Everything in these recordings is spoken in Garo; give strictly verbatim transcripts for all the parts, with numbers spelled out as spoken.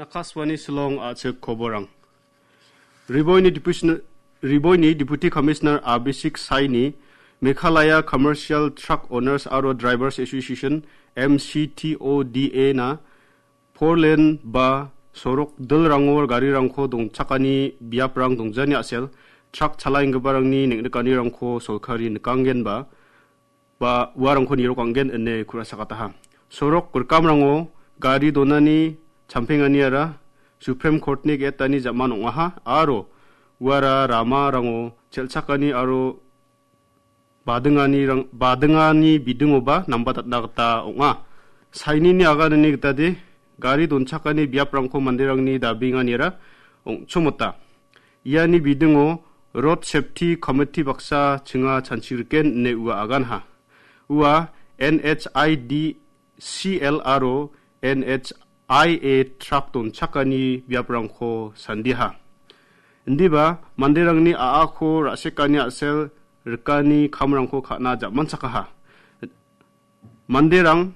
Akashvani Shillong, a·chik koborang. Riboini Deputi, Riboini Deputy Commissioner Abhishek Saini Meghalaya Commercial Truck Owners aro Drivers Association, M C T O D A na four lane ba sorok dilrango garirangko dongchakani biaprang dongjani a·sel truck chalaenggiparangni neng·nikanirangko solkari nikanggenba ba uarangko nirokanggen ine ku·ra sakataha. Sorok rikamrango gari donani champenganiara Supreme Court-ni ge·etani ja·man ong·aha aro uara ramarango chelchakani aro badinganirang-, badingani bidingoba nambatatna gita ong·a. Sainini aganani gitade gari donchakani biaprangko manderangni dabenganiara ong·chomota. Iani bidingo Road Safety Committee baksa chinga chanchigriken ine ua aganha. Ua N H I D C L aro N H I A truck donchakani biaprangko sandiha. Indiba manderangni a·ako ra·sekani a·sel rikani kamrangko ka·na ja·manchakaha. Manderang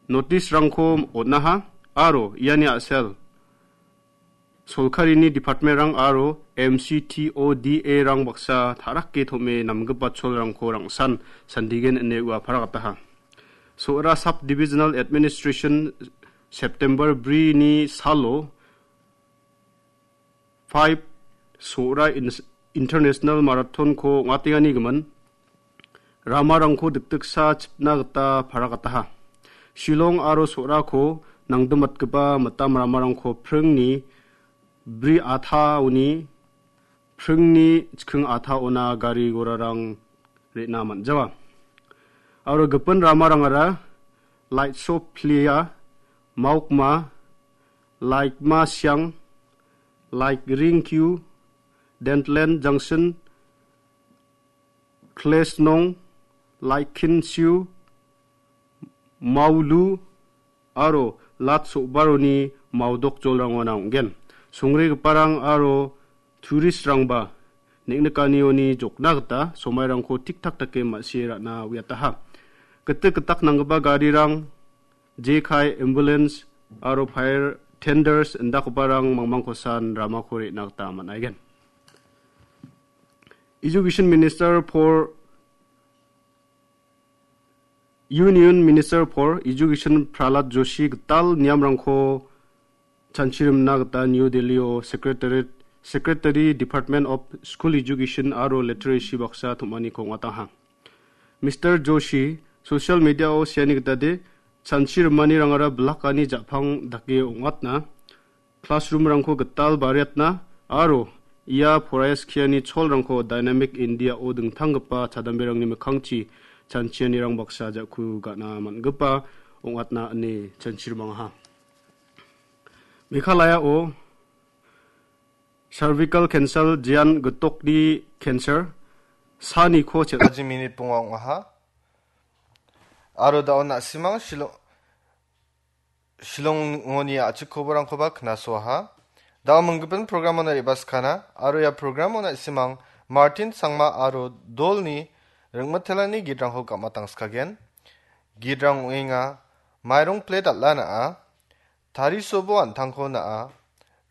notice-rangko on·aha aro iani a·sel solkarini department-rang aro M C T O D A-rang baksa ta·rake tom·e namgipa cholrangko rangsan sandigen ine ua paragataha. So·ra Sub-Divisional Administration September brini salo five So·ra In-, International Marathon-ko ong·atengani gimin ramarangko dikdiksa chipna gita paragataha. Shillong aro So·rako nangdimatgipa mitam ramarangko pringni bri ataoni pringni chiking ataona gari gorarang re·na man·jawa. Aro gipin ramarangara Laitso Plia, Maukma, Laikma Siang, Laik Ringkyu, Dentland Junction, Klesnong, Laikin Siu, Maulu, aro Lat So·baroni maudok jolrangona ong·gen. Songregiparang aro turistrangba neng·nikanioni jokna gita somairangko tik-tak dake ma·sie ra·na uiataha. Gitik gitak nanggipa garirang, jekai, ambulance aro fire tenders indakgiparang mangmangkosan ramako re·na gita man·aigen. Education Minister for Union Minister for Education Prahlad Joshi gital niamrangko chanchirimna gita New Delhi-o Secretariat, Secretary Department of School Education aro Literacy baksa tom·aniko ong·ataha. Mister Joshi social media-o seani gitade, chanchirimanirangara bilakani ja·pang dake ong·atna, classroom-rangko gital bariatna aro ia poraiskiani cholrangko Dynamic India-o dingtanggipa chadamberangni mikkangchi chanchianirang baksa ja·ku ga·na man·gipa ong·atna ine chanchirimangaha. Meghalaya-o cervical cancer jean gitokni cancer saniko chel- Baji minit bonga ong·aha. Aro da·o na·simang Shillong, Shillongoni a·chik koborangkoba knasoaha. Da·o minggipin programona re·baskana, aro ia programo na·simang Martin Sangma aro Dolni ringmitelani gitrangko gam·atangskagen. Gitrang ong·enga, mairong plet al·a na·a, tarisobo an·tangko na·a,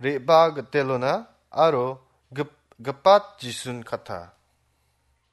re·baa gitelona aro gip-, gipat Jisun kata.